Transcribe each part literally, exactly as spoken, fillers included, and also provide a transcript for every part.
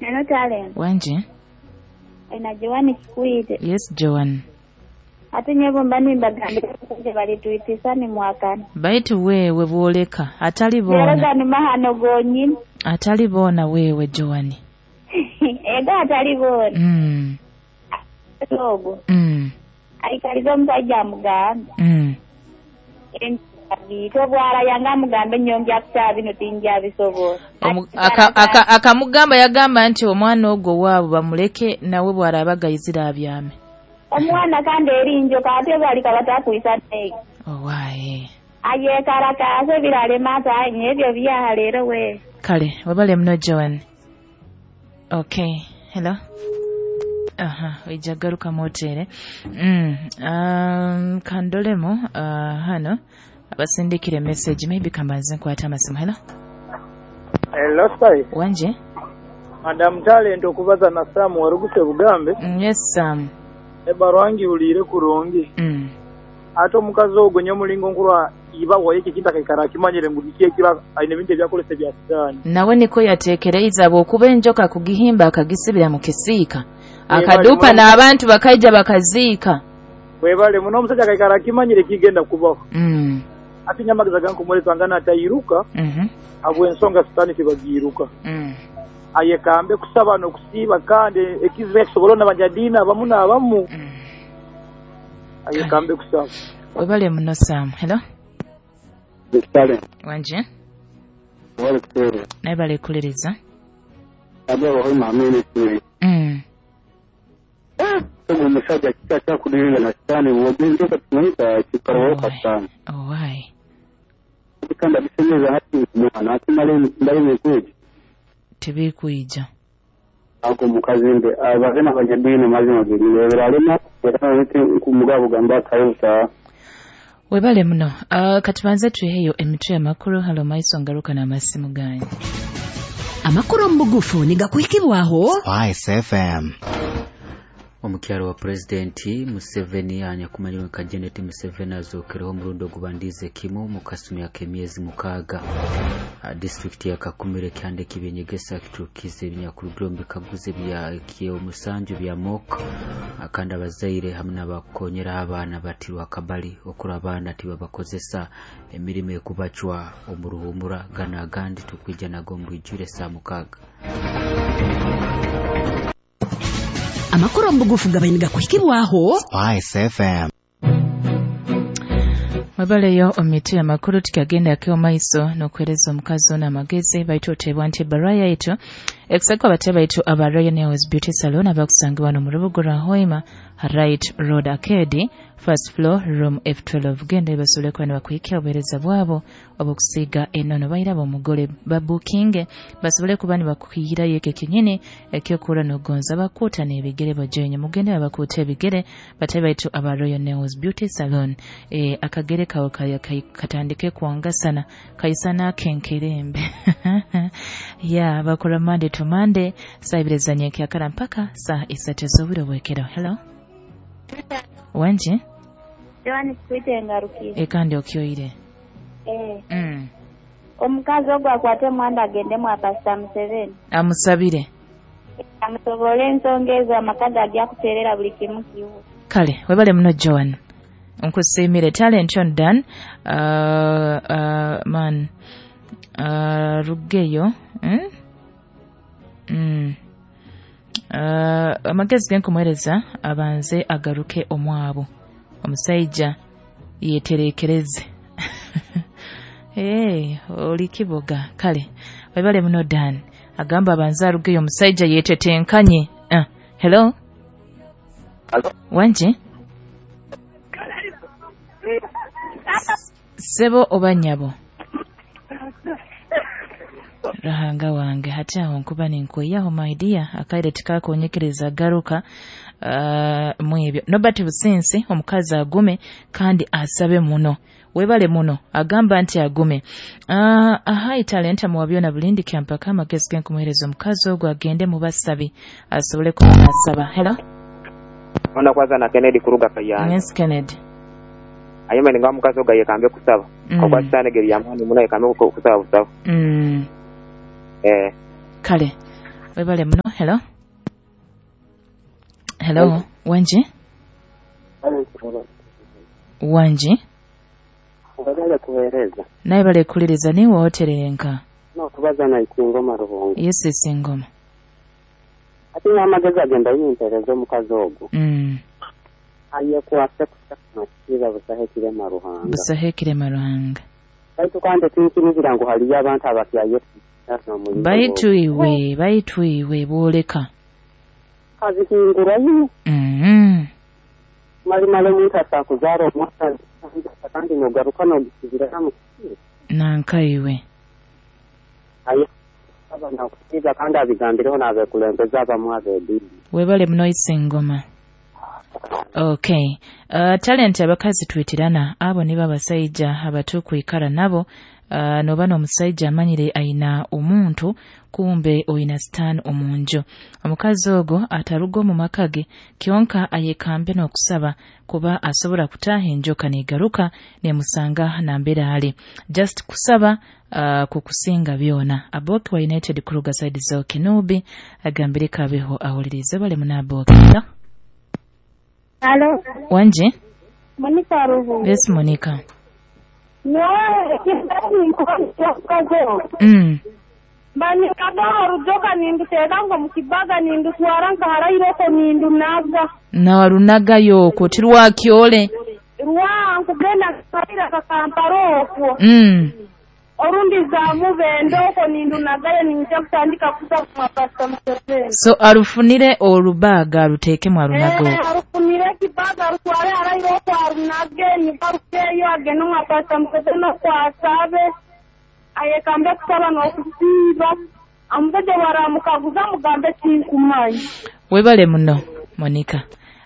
Neno Talent. Wanje? Ina Joan Kikwite. Yes, Joan. Ate nyebo mbani mbagambira kuje balituitisa ni mwakani. Baitu wewe bwoleka atali bona. Lero ni mahano gonyini. Atali bona wewe Joan. Ega atali bona. Mm. Logo. Mm. Aikalizo musajja mugamba. Mm. Ento bwara yanga mugambe nyongya kuta bino tinja bisobola. Akamugamba yagamba nti omwana ogwo waabo bamuleke nawe bw'araba gayizira abyame. Omwana kandi erinjoka ate bali kabatakwisa negi. Owaye. Aye karakase biralema ata ebyo byaha leero we. Kale wabale muno Joan. Okay, hello. Aha, wijagaruka motere. Mm, um, kandolemo uh, hano abasindikire message maybe kambanze nkwata amasimu. Hello. Hello sir. Wanje? Madam Talent okubaza na Sam waruguse Bugambe. Mm, yes Sam. Ebarwangi ulire kurungi. Mm. Ate omukazi ogwo nyomulingo nkurwa iba waye kinta kaikara kimanyire ngu bikiye kiba aine bintu ebyakolese bya sitaani. Nawe niko yateekereiza bw'okuba enjoka kugihimba akagisibira mu kisiika. Akadupa n'abantu bakaija bakaziika. Webale muno omusajja kaikara kimanyire kigenda kubaho. Mm. Ate nyamageza gankumuleta ngana atayiruka. Mhm. Abwe ensonga sitaani tibagiruka. Mm. Aye kambe kusaba n'okusiiba kandi ekizibu ekisobola n'abanyadiini abamu n'abamu. Mm. Aye kambe kusaba. Webale muno Sam. Hello. Kale. Wanje? Wale kutere. Naye bale kuliriza. Abo bahima ministry. Mm. Ogu musajja kika kyakudiringa na sitaani wogenjoka tunaita kikarawoka sitaani. Owai. Kandi abisemeza hati mwana ati male mbale mekuji. Tebikuija. Ako mukazi mbe abazina abanyadiini mazima giri biralema yakana kumugabo gamba kayusa. Webale muno. Uh, katubanze tuheyo emitwe amakuru halo maiso ngaruka n'amasimu ganyu. Amakuru omubugufu nigakuhikibwaho Spice F M. Omukyalo wa Presidenti Museveni anyakumanyirwe nka Janet Museveni azokereho omurundi ogubandize kimu mu kasumi ak'emyezi mukaaga. Disitulikiti ya Kakumire kyande kibyenyegesa kiturukize ebinyakurugire omu bikaguzo bya ekyomusanju bya M O C kandi abazaire hamwe n'abakonyera abaana batirwa akabali okura abaana tibabakozesa emirimo ekubacwa omu ruhumura gana agandi tukwija nago omu bwijwire saa mukaaga. Amakuru omubugufu gabaine gakuhikibwaho Spice F M. Webaleyo omiti amakuru tukagenda keo maiso n'okuhereza omukazi ono amagezi baitu oteebwa nti ebbaluwa yaitu ekusaka abatebe baitu aba Royal Nails Beauty Salon abakusangibwa wano mu Rubuga rwa Hoima Right Road Arcade first floor room F twelve. Genda basobole kuba nibakuhikya obuheereza bwabo obw'okusiiga enono bairaba omugole babukinge basobole kuba nibakuhirayo ekyo kinyini ekyokuhura n'okugonza bakuuta n'ebigere bajoyinye mugende babakuuta ebigere batebe baitu aba Royal Nails Beauty Salon. E, akagere kawe katandike kwangasana kaisana akenkerembe. Ya bakora Monday to Monday saa ibiri za nyenkyakara mpaka saa isatu z'obwire bwekero. Hello. Wanje? Joan Kikwite ngarukire. Ekandi okyoire. Eh. Mm. Omukazi ogwo akwate mwanda agende mwa Pastor Museveni. Amusabire. Amusobole ensonga ezo amaka gajja kuterera buli kimu kiwo. Kale, webale muno Joan. Nkusiimire Talent on Dan. Uh, uh, man. Uh, Rugeyo. Mm? Mm. Uh, amagezi genkumuhereza abanze agaruke omwabo omusajja yeterekereze. Hey, oli kiboga. Kale webale muno Dan agamba abanze arugeyo omusajja yetetenkanye. Uh, hello. Hello. Wanje? Sebo oba nnyabo? Rahanga wange hati aho nkuba ninkweyaho my dear akaire tikakonyekereza garuka uh, mwebyo Nobert Businsi omukazi agume kandi asabe muno webale muno agamba nti agume. uh, ahai talenta muwabyona bulindi kyampaka amagezi genkumuhereza omukazi ogwo agende mu basabi asobole kuba asaba. Hello. Ona kwanza na Kennedy kuruga Kayanja. Yes Kennedy. Ayema ninga omukazi ogwo yekambe kusaba. Mm. Okwa sitaani geri yamani muno yekambe kusaba busaba. Mm. Eh. Kale webale muno Hello. Hello, wanji? Wanji? Bagala kuweereza. Naye bale kuliriza niwe oterenka. N'okubaza na Isingoma Rubongo. Yes, Isingoma. Ate n'amagezi agenda yimpereza omukazi ogwo. Mm. Aye kwase kusakira busahe kirema Ruhanga. Busahe kirema Ruhanga. Baitu kandi tinkinizira ngu haliyo abantu abakyaye. Baitu iwe, baitu iwe boleka. Kazihingura yino. Mm. Mali mali omuntu atakuzaara omwana kandi nogaruka n'ogisibira mu nanka iwe. Aye abana kusiza kandi abigambireho n'abekulembeze abamu ab'eddiini. Webale muno Isingoma. Okay. Uh, talent abakazi twitirana abo nibo abasajja abatukwikara nabo. Uh, noba n'omusajja amanyire ayina omuntu kumbe oyina stan omunju. Omukazi ogwo ataruga omu maka ge kyonka ayekambe n'okusaba kuba asobola kutaaha enjoka neegaruka nemusanga nambeera ali. Just kusaba uh, kukusinga byona. Aboki wa United Kruger side zo Kenubi agambire kabeho awulirize bale munaboki. Hello. Wanje? Monica Ruhu. Yes, Monica. Mm. Banyikadaho rujoka ninduteeka ngo mu kibaga nindutwara nkaharayireko nindunaga. Nawarunagayo okwo tirwakyole. Rwa nkugenda nkaharira kakampara okwo. Mm. Orundi zamubende okwo nindunagayo ninja kutandika kusaba mapasita Museveni. So arufunire orubaga aruteekemu arunaga okwo. Arufunire ekibaga arutware harayire okwo arunage nibarukeyo agende omwa Pasita Museveni okwo asabe. Ayekambe kusaba n'okusiiba. Omusajja bw'aramukaguza mugambe tinkumanyi. Webale muno Monica.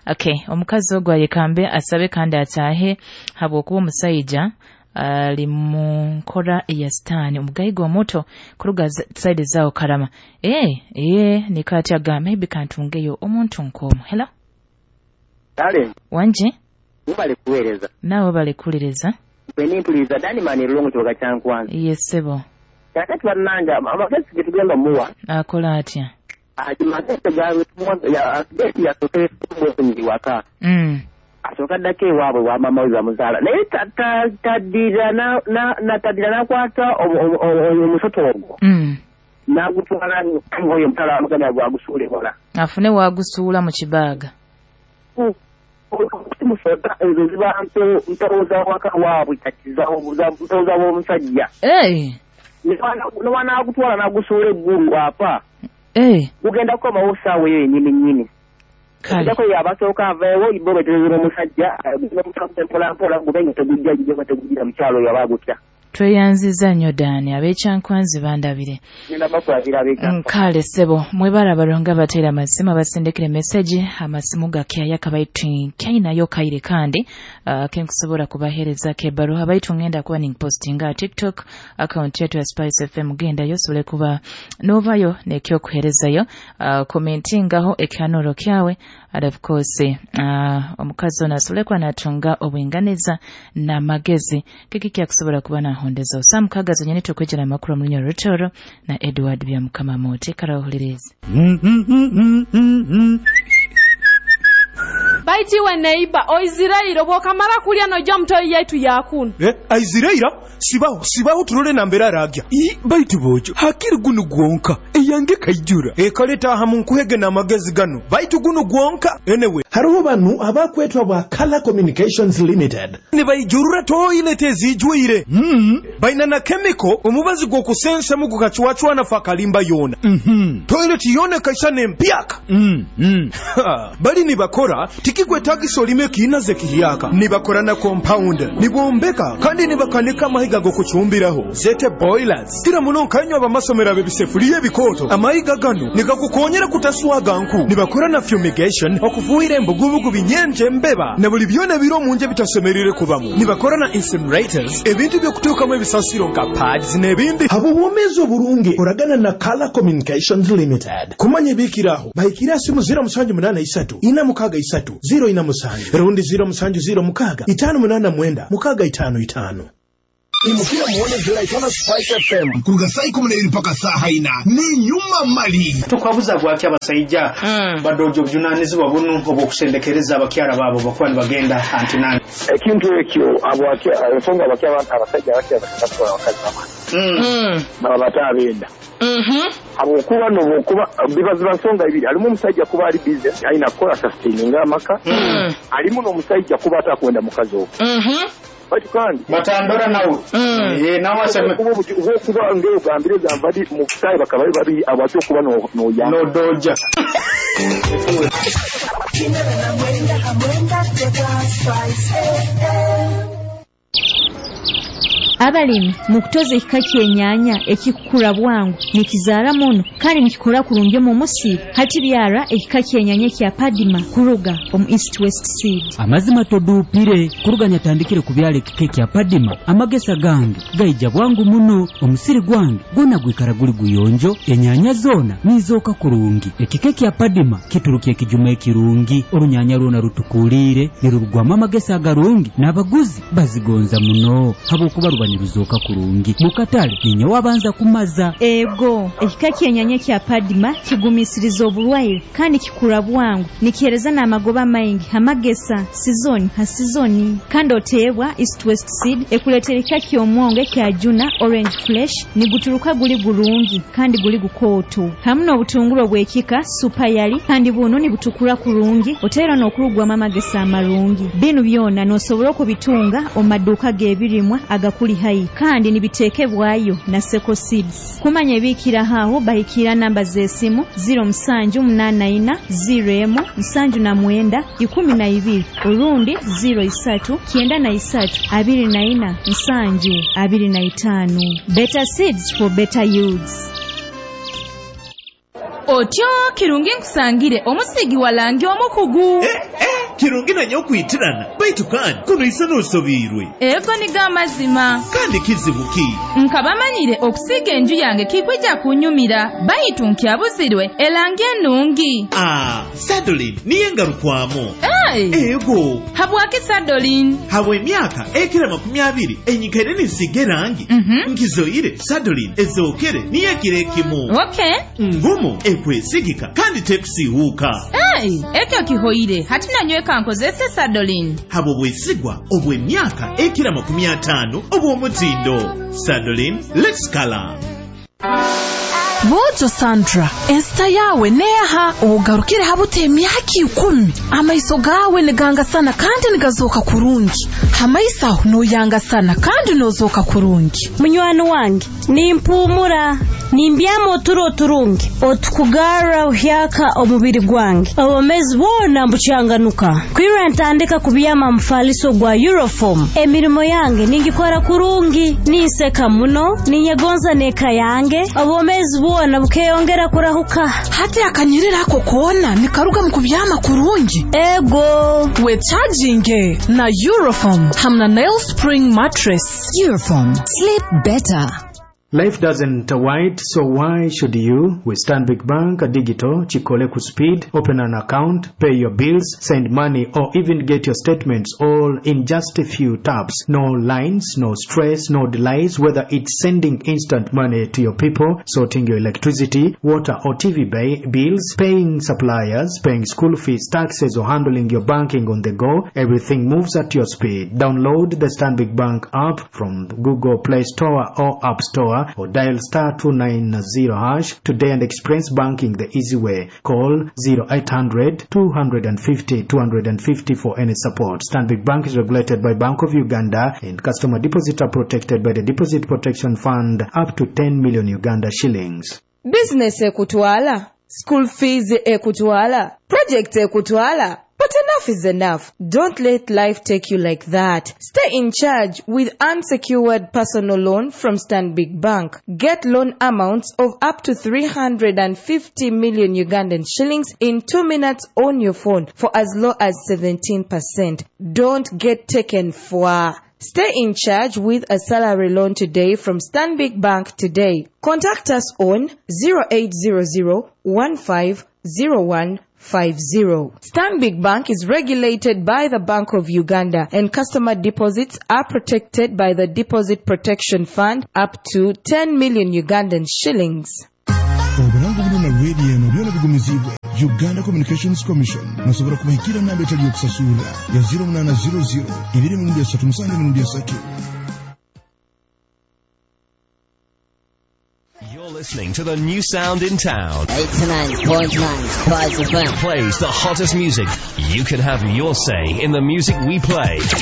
Okay, omukazi ogwo ayekambe asabe kandi ataahe habwokuba omusajja ali mu nkora ya sitaani omugayiga omuto kuruga side zaawo Karama. Eh, eh nikati agamba maybe kantungeyo omuntu nk'omu. Hello. Kale. Wanje? Webale kuweereza. Naawe bale kuliriza. Bwe Dani Mani Rulongo kibuga kya Nkwanzi. Yes, sebo. Kakati bannange amagezi ge tugenda muwa. Akola atya? Amagezi gaabwe tumuwa yasooke kumwefunyiri waka. Mm. Asooka addako ewaabwe wa maama we bamuzaala naye taddira taddira n'akwata omusoto ogwo. Mm. N'agutwala ng'oyo omutala amugambye gwagusuula ewala. Afune waagusuula mu kibaaga. Musota ezo ziba mpewo za waka waabwe kati mpewo za w'omusajja. N'agutwala n'agusuula eggulu apa. Gugenda kukomawo ssaawa eyo yennyini nnyini. Kale. Yabasooka aveewo bo betereza n'omusajja mpola mpola gube nga tegujja gijja nga tegujjira mukyalo oyo aba agutya. Tweyanziza nnyo Dani, ab'Ekyankwanzi bandabire. Kale ssebo, mwebale abalongo abateera amasimu abasindikira meseji, amasimu gakyaya kabaitu kyayinayo kaire kandi uh, kenkusobola kubaheerezako ebbaluwa baitu ngenda kuba ninpostinga TikTok account yetu ya Spice F M, gendayo osobole kuba n'ovayo n'ekyokuheerezayo, uh, commentingaho ekyanuro kyawe and of course uh, omukazi ono asobole kuba n'atunga obwinganiza n'amagezi kiki kyakusobola kuba n'ahondezo. Sam Kagazo nyene tukwejera amakuru mu Lunyoro Rutoro na Edward Byamukama Moti karawuliriza. Baitiwe neiba oizirairo bwokamara kulya nojja mutoyi yetu yakunu. Eh, aiziraira sibaho sibaho turole nambera aragya. I baitu bojo hakiri gunu gwonka eyange kaijura. E kaleta hamu nkuhege na magezi gano. Baitu gunu gwonka anyway. Haruho banu abakwetwa bwa Color Communications Limited. Ni bayijurura toilet ezijwire. Mm. Baina na chemical omubazi gwokusensa mu gukachwachwa na fakalimba yona. Mhm. Mm toilet yone kaisane mpyaka. Mm. Mm. Bali ni bakora tikikwetagisa olime kiinaze kihiyaka. Nibakora na compound, nibombeka kandi nibakanika amahiga gokuchumbiraho zete boilers. Kira muno nkanywa abamasomero ab'ebisefuliya ebikooto. Amahiga gano nigakukonyera kutaswaga nku. Nibakora na fumigation okufuhira embugubugu binyenje embeba na buli byona biro omunje bitasemerire kubamu. Nibakora na incinerators ebintu by'okutuukamu ebisasiro nka pads n'ebindi. Abo bwomeezi oburungi oragana na Color Communications Limited. Kumanya ebikiraho bahikira simu zero musanju munana isatu ina mukaga isatu zero ina musanju rundi zero musanju zero mukaga itano munana mwenda mukaga itano itano. Imukira muone ziraitana Spice F M kuruga saa ikumi na ibiri mpaka saa haina ni nyuma mali. Tukwabuza gwaki abasaija mm. badojo bujunanizibwa bunu obwokusendekereza abakyara babo bakuba nibagenda antinani. Ekintu ekyo abwaki ensonga abakyara abasajja abakyara bakatwara abakazi babo. Mm. Baba batabenda. Mhm. Abokuba nobokuba bibaziba nsonga ibiri alimu omusajja kuba ali busy alina kukola sustaining amaka. Mm. Alimu n'omusajja kuba atakwenda mukazi ogwo. Mhm. Bati kandi batandora nawe mm. Eh nawe aseme kuba kuba ngero gambire gambadi mu kutayi bakaba babi abacho kuba no no ya no doja. Abalimi mu kutoza ekika ky'ennyanya ekikukura bwangu nikizaara muno kandi nikikora kurungi omu musiri hati byara ekika ky'ennyanya kya Padima kuruga omu East West Seed. Amazima toduupire kuruga nyatandikire kubyala ekika kya Padima amagesa gange gaija bwangu muno omusiri gwange gwona gwikara guli guyonjo ennyanya zoona nizooka kurungi. Ekika kya Padima kituruka ekijuma ekirungi orunyanya rwona rutukuliire nirurugwamu amagesa agarungi n'abaguzi bazigonza muno habwokuba ruba niruzoka kurungi mukatale ninye wabanza kumaza. Ego ekika ky'ennyanya kya Padima kigumisiriza oburwaire kandi kikura bwangu nikihereza n'amagoba maingi amagesa sizoni ha sizoni kandi oteebwa East West Seed ekuleetera ekika ky'omwongo ekya Juna Orange Fresh niguturuka guli gurungi kandi guli gukooto hamu n'obutunguru obw'ekika Super Yali kandi buno nibutukura kurungi oteera n'okurugwamu amagesa amarungi. Binu byona n'osobola okubitunga omu maduuka g'ebirimwa agakuli hai kandi nibitekebwayo na Seko Seeds. Kumanya ebikira haho bahikira namba z'esimu zero musanju munana ina zero emu musanju na mwenda ikumi na ibiri orundi zero isatu kienda na isatu abiri na ina musanju abiri na itano. Better seeds for better yields. Otyo kirungi nkusangire omusigi walangi omukugu. Eh, eh, kirungi nanyo okwitirana baitu kandi kuno isa n'osobiirwe. Ego niga amazima. Kandi kizibu ki? Nkabamanyire okusiga enju yange kikwija kunyumira baitu nkyabuzirwe elangi ennungi. Ah, Sadolin niye ngarukwamu. Hey. Ego. Habwaki Sadolin? Habwe emyaka ekira makumi abiri enyikaire ninsiga erangi. Mm -hmm. Nkizoire Sadolin ezookere niye ekiro ekimu. Okay. Ngumu ekwesigika kandi tekusiiwuuka. Hey, ekyo kihoire hati nanyweka nkozese Sadolin. Habwo bwesigwa obw'emyaka ekira makumi ataano obw'omutindo. Sadolin, let's color. Bojo Sandra, ensita yawe neha ogarukire habute emyaka ikumi amaiso gawe nigangasana kandi nigazoka kurungi hamaiso aho noyangasana kandi nozoka kurungi. Munywani wange nimpumura nimbyama oturo oturungi otukugarra uhyaka omubiri gwange obomezi bwona mbucyanganuka kwira ntandika kubyama mufaliso gwa Euroform emirimo yange ningikora kurungi ninseka muno ninyegonza neka yange obomezi bwona bukeyongera kurahuka. Hati akanyirira ako kona nikaruga mu kubyama kurungi. Ego we charging na Euroform hamna Nail Spring mattress. Euroform, sleep better. Life doesn't wait, so why should you? With Stanbic Bank Digital, Chikole ku speed, open an account, pay your bills, send money, or even get your statements all in just a few taps. No lines, no stress, no delays, whether it's sending instant money to your people, sorting your electricity, water or T V bills, paying suppliers, paying school fees, taxes, or handling your banking on the go, everything moves at your speed. Download the Stanbic Bank app from Google Play Store or App Store or dial star two nine zero hash today and experience banking the easy way. Call zero eight hundred two fifty two fifty for any support. Stanbic Bank is regulated by Bank of Uganda and customer deposits are protected by the Deposit Protection Fund up to ten million Uganda shillings. Business ekutwala, school fees ekutwala, project ekutwala. But enough is enough. Don't let life take you like that. Stay in charge with unsecured personal loan from Stanbic Bank. Get loan amounts of up to three hundred fifty million Ugandan shillings in two minutes on your phone for as low as seventeen percent. Don't get taken for. Stay in charge with a salary loan today from Stanbic Bank today. Contact us on zero eight zero zero one five zero one five zero. Stanbic Bank is regulated by the Bank of Uganda and customer deposits are protected by the Deposit Protection Fund up to ten million Ugandan shillings. Obulango buno na radio eno byona bigumizibwe Uganda Communications Commission. Nasobola kubahikira namba etali yokusasula ya zero munana zero zero ibiri mirundi esatu musanju mirundi esatu. You're listening to the new sound in town. eighty-nine point nine Spice F M plays the hottest music. You can have your say in the music we play.